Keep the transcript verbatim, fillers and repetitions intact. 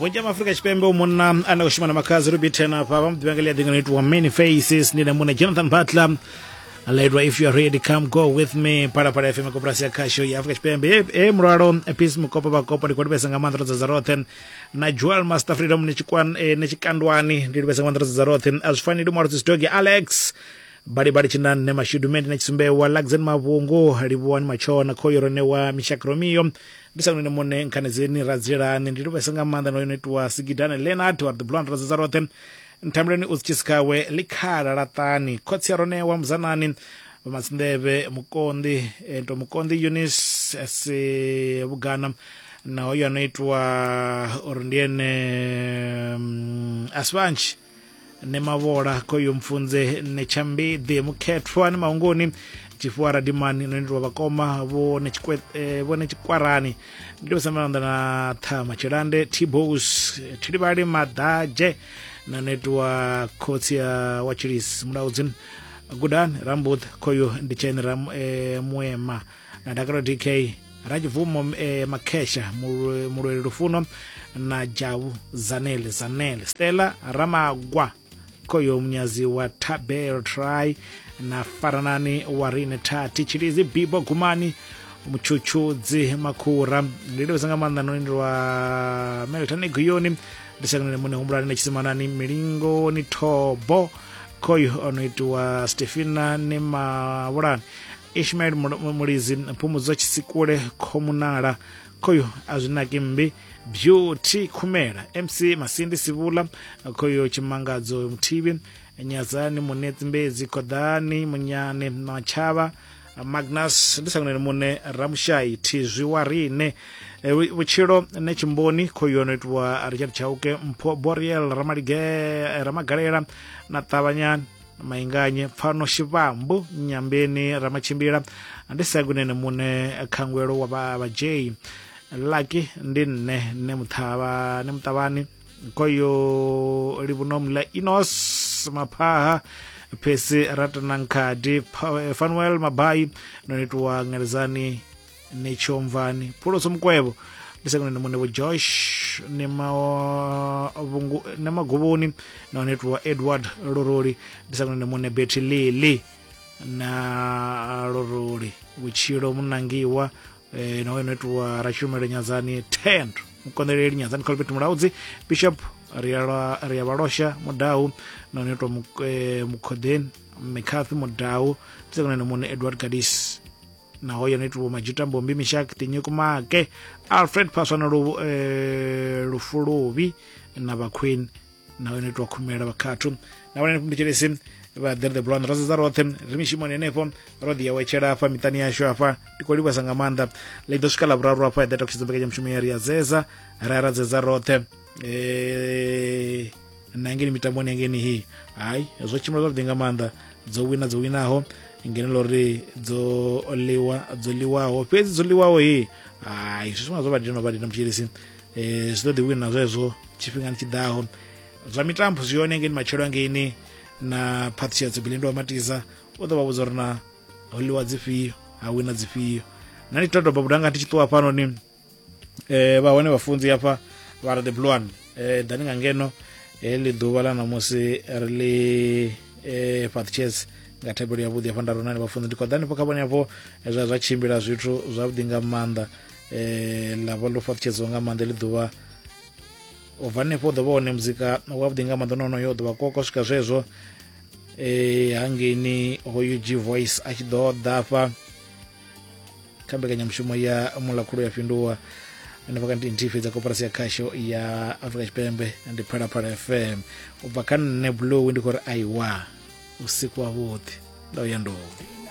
Vhunzhi ha Afrika Tshipembe u munna ane a khou shuma na Makhadzi Rubiten afha vha muḓivha nga ḽia ḓinga no itiwa Many Faces. Ndi na muṋe Jonathan Butler laidwa If You Are Ready Come Go With Me. Phalaphala F M koporasi ya khasho ya Afrika Tshipembe. E mulwalo Peace Mukopo vhakopo ndi khou livhesa nga maanḓa ro dzadza roṱhe na Joel Master Freedom ni tshikwan ne tshikandwani ndi livhesa nga maanḓa ro dzadza roṱhe. A zwi faneli mwalo Sistogi Alex bali bali tshinane mashudu mendi na tshisumbewa Laxen Mavhungu livhuwani machona khoyo ronewa Mishak Romeo ndi sa nune mune nkhanedzeni radzilani ndi livhesa nga maanḓa no yo itiwa Sigidane Leonard wa the Blonde ro dzadza roṱhe. Nthamuleni u tshiskawe likhala latani khotsi ya ronewa muzanani vhamatsinḓevhe mukonḓi ento mukonḓi Eunice se vhugana na hoyo ano itwa uri ndi ene asvanchi ne mavola khoyo mfunze ne tshambiḓi mukhethwa ne mahungoni tshifuwa radimani no itwa vhakoma vho ne tshikwe vho ne tshikwarani ndi vhasa na thama tshilande T-Bose Thilivhali Maḓadzhe na netwa khotsi ya wa Chilisi Mulaudzi Gudani Rambuth khoyo ndi tshene ram e, Muema na Dakaro D K Rajivumo e, Makhesha Mulweli Lufuno na Javu Zanele Zanele Stella Ramagwa khoyo munyazi wa Tabel Try na Faranani wa Rine Thati Chilizi Bibo Gumani Muchuchudzi Makhura ndi livhesa nga maanḓa no lwa Melton Guyoni ndi sakunene mune humbulani na tshimanani milingo ni thobo khoyo ono itiwa Stefina ni Mavhulani Ishmael Mulizi Phumudzo Tshisikule Khomunala khoyo azwinaki mmbi Beauty Khumela M C Masindi Sivula khoyo Tshimangadzo Muthibi Nyazani Munetsi Mbedzi Khoḓani Munyane Machavha Magnus ndi sakunene mune Ramushai Thizwi wa rine vhutshilo ne tshimboni khoyo no itiwa Richard Chauke Mpho Boriel Ramalige Ramagalela na Ṱavhanyani Mainganye Pfano Shivambu Nyambeni Ramatshimbila ndi sakunene mune Khangwelo wa vha J Lucky ndi nne ne muṱhavha ne muṱavhani khoyo Livhunomla Inos Maphaha Phesi Ratanankhadi Fanuel Mabai no itiwa Ngelezani Nechomvani Phuloso Mukwevho ndi sakunene mune vho Josh ne mavhungu ne maguvhuni na itiwa Edward Loroli ndi sakunene mune Betty Lili na Loroli Vhutshilo Munangiwa eh, na weno itiwa Rashumelo Nyazani Tendo Mukondeleli Nyazani Colbert Mulaudzi Bishop Riala Riavalosha Mudau na weno itiwa Mukhodeni McCarthy Mudau ndi sakunene mune Edward Gadis na hoyo no Majuta Mbombi Mishak Tinyuku Make Alfred Paswana lu eh, Lufuluvi na ba Queen na hoyo no Khumela Vhakhathu na vhone nditshelesi vha the Blonde ro dzadza roṱhe ri mishimoni henefho ro ḓi ya wetshela afha miṱani yashu afha ndi khou livhesa nga maanḓa ḽi ḓo swika ḽa vhuraru afha ya ḓa takutshedza mbekanyamushumo ya ri ya zeza ra ra dzedza roṱhe eh na ngeni mitamboni yangeni hi hayi zwo tshimbila zwavhuḓi nga maanḓa dzo wina dzo winaho ngeno lori dzo liwa dzo liwaho fhedzi dzo liwaho hi hayi zwi zwo vha dina vha dina mutshilisi eh zwi ḓo ḓi wina zwezwo tshifhingani tshiḓaho zwa mitambo zwi yone ngeni matshelo ngeni na Patricia Tsibilindo wa Matiza u ḓo vha vhudza uri na ho liwa dzifhio ha wina dzifhio na ndi todoba budanga ndi tshi ṱuwa fhano ni eh vha hone vhafunzi hafha vha re the blue one eh ḓani nga ngeno heḽi ḓuvha ḽa ṋamusi ri ḽi eh Patricia nga thabelo ya vhuḓi hafha nda ronani vhafunzi ndi khoḓani fho kha vhone hafho zwa zwa tshimbila zwithu zwavhuḓi nga maanḓa eh ḽa vha ḽo fhaṱutshedziwa nga maanḓa ḽi ḓuvha u bva hanefho ḓo vha hone muzika wavhuḓi nga maanḓa nono yo ḓo vha koko swika zwezwo eh hangeini hoyu G Voice a tshi ḓo ḓa hafha kha mbekanyamushumo ya Mulakhulu ya Fhinduwa hanefha kha nthihi fhedza koporasi ya khasho ya Afrika Tshipembe ndi Phalaphala F M u bva kha nṋe Blue ndi khou ri aiwa usiku wavhuḓi nda uya nduni.